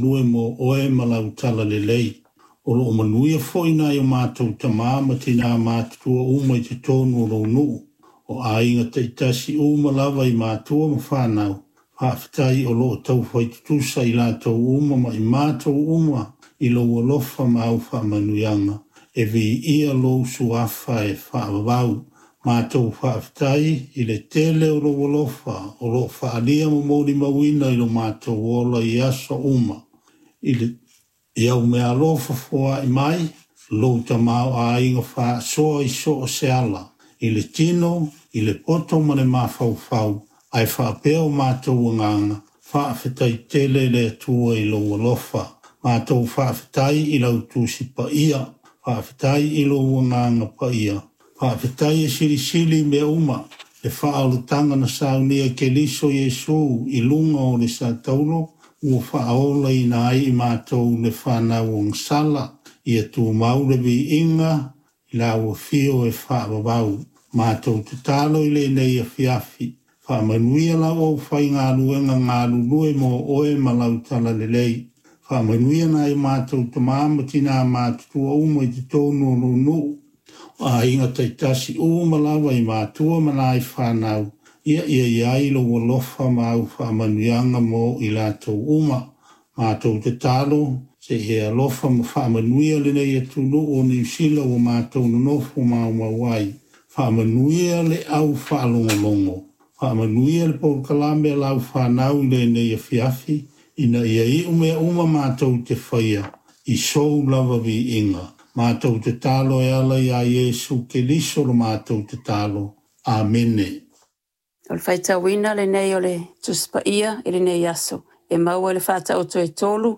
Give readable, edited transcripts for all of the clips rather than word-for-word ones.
Lue mo oe ma lau talalelei. O lo o manuia foi nai o matou tama ma tinā matutua uma i totonu o lou nuu, o aiga taitasi uma lava i matua ma fanau. Faafetai o lo o taufai tutusa i latou uma ma i matou uma i lou alofa ma au faamanuiaga. E viia lou suafa e faavavau. Matou faafetai i le tele o lou alofa o lo o faaalia ma molimauina i lo matou ola i aso uma. I le i au meaalofa foai mai, lou tamaoaiga faasoa i so o se ala, i le tino, i le poto ma le mafaufau, ae faapea o matou agaga, faafetai tele le Atua i lou alofa. Matou faafetai i lau Tusi Paia, faafetai i lou Agaga Paia, faafetai e silisili i mea uma le faaolataga na saunia e Keriso Iesu i luga o le sataulo ua faaolaina ai i matou le fanau ogasala. Ia tumau le viiga i lau afio e faavavau. Matou tatalo i lenei afiafi, faamanuia lau aufaigaluega galulue mo oe ma lau talalelei. Faamanuia nai o matou tama ma tinā matutua uma i totonu o lou nuu, o aiga taitasi uma lava i matua ma nai fanau, ia i ai lou alofa ma au faamanuiaga mo i latou uma. Matou tatalo, se i e alofa ma faamanuia lenei atunuu o Niu Sila ua matou nonofo maumau ai. Faamanuia le au faalogologo, faamanuia le polokalame a lau fanau i lenei afiafi, ina ia iu mea uma matou te faia i sou lava viiga. Matou tatalo e ala iā Iesu Keriso lo matou tatalo. Amene. O le faitauina lenei o le Tusi Paia i lenei aso, e maua i le Faataoto e 3,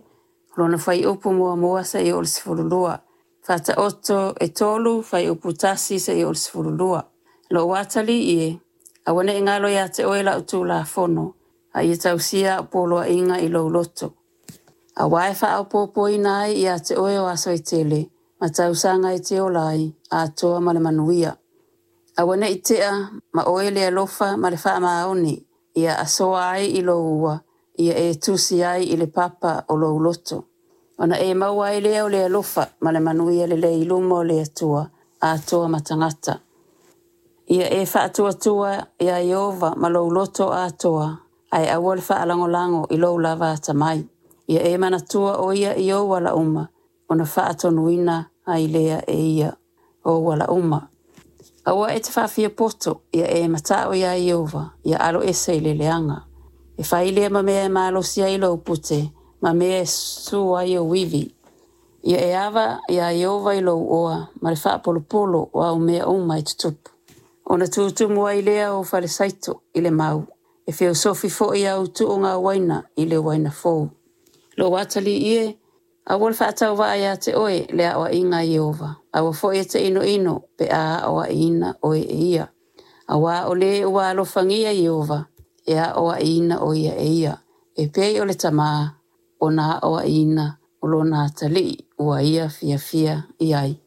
lona fuaiupu 1 seia oo i le 12. Faataoto e 3, fuaiupu 1 seia oo i le 12. Lou atalii e, aua ne i galo ia te oe lau tulafono, a ia tausia au poloaiga i lou loto. Aua e faaopoopoina ai ia te oe o aso e tele, ma tausaga e te ola ai, atoa ma le manuia. Aua ne i tea ma oe le alofa ma le faamaoni, ia asoa ai i lou ua, ia e tusi ai i le papa o lou loto. Ona e maua ai lea o le alofa ma le manuia lelei i luma o le Atua, atoa ma tagata. Ia e faatuatua iā Ieova ma lou loto atoa, ae aua le faalagolago i lou lava atamai. Ia e manatua o ia i ou ala uma, ona faatonuina ai lea e ia ou ala uma. Aua e te faafiapoto, ia e matao iā Ieova, ia aloese i le leaga. E fai lea ma mea e malosi ai lou pute, ma mea e su ai ou ivi. Ia e ava iā Ieova i lou oa ma le faapolopolo o au mea uma e tutupu. Ona tutumu ai lea o falesaito i le mau, e feosofi foi au tuuga uaina i le uaina fou. Lou atalii e, aua le faatauvaa ia te oe le aoaiga a Ieova, aua foi e te inoino pe a aoaiina oe e ia. Aua o le ua alofagia Ieova, e aoaiina o ia e ia, e pei o le tamā ona aoaiina o lona atalii ua ia fiafia i ai.